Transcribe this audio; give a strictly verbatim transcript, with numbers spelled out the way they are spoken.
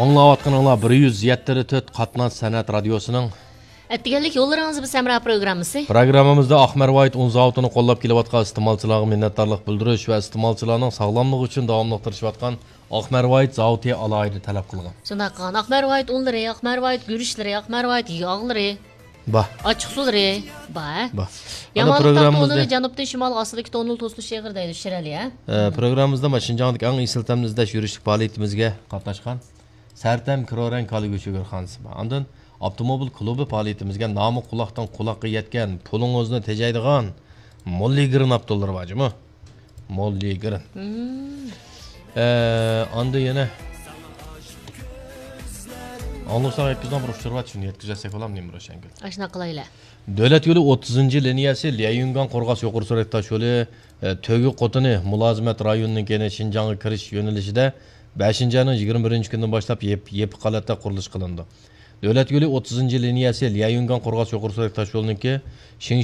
ئاڭلاۋاتقىنىڭلار بىر يۈز يەتتە تۆت قاتناش سەنئەت رادىيوسىنىڭ ئەتىگەنلىك يوللىرىڭىز بىز ھەمراھ پروگراممىسى. پروگراممىمىزدا ئاقمەرۋايىت ئۇن زاۋۇتىنى قوللاپ كېلىۋاتقان ئىستېمالچىلارغا مىننەتدارلىق بىلدۈرۈش ۋە ئىستېمالچىلارنىڭ ساغلاملىقى ئۈچۈن داۋاملىق تىرىشىۋاتقان ئاقمەرۋايىت زاۋۇتى ئالاھىدە تەلەپ قىلغان. شۇنداق قىلغان. ئاقمەرۋايىت ئۇنلىرى، ئاقمەرۋايىت گۈرۈچلىرى، ئاقمەرۋايىت ياغلىرى، با، ئاچچىق سۇلىرى، با. با. يامانلىق تاغ تونىلى جەنۇبتىن شىمالغا ئاستىدىكى تونۇل توسۇلۇش ئېغىر دەيدۇ شىرئەلى، ھە؟ ئە، پروگراممىمىزدا مانا شىنجاڭدىكى ئەڭ ئېسىل تەمنى ئىزدەش يۈرۈشلۈك پائالىيىتىمىزگە قاتناشقان سەرتەم كىرورەڭ كالا گۆشى گۆرخانىسى بار. ئاندىن ئاپتوموبىل كۇلۇبى پائالىيىتىمىزگە نامى قۇلاقتىن قۇلاققا يەتكەن، پۇلىڭىزنى تېجەيدىغان موللىگرىن ئاپتوللىرى بار جۇمۇ. موللىگرىن. مم. ئە، ئاندىن يەنە ئاڭلىساڭ يەتكۈزىدىغان بىر ئۇچۇر بار، شۇنى يەتكۈزەتسەك بولامدۇ، نېمە بىر ئوشەنگۈل؟ ئاشۇنداق قىلايلى. دۆلەت يولى ئوتتۇزىنچى لىنىيەسى ليەيۈنگاڭ قورغاس يۇقىرى سۈرئەت تاش يولى، ئە، تۆگە قوتىنى مۇلازىمەت رايونىنىڭكى يەنى شىنجاڭغا كىرىش يۆنىلىشىدە بەشىنچى ئاينىڭ يىگىرمە بىرىنچى كۈنىدىن باشلاپ يېپ-، يېپىق ھالەتتە قۇرۇلۇش قىلىنىدۇ. دۆلەت يولى ئوتتۇزىنچى لىنىيەسى ليەيۈنگاڭ قورغاس يۇقىرى سۈرئەت تاش يولىنىڭكى شىڭ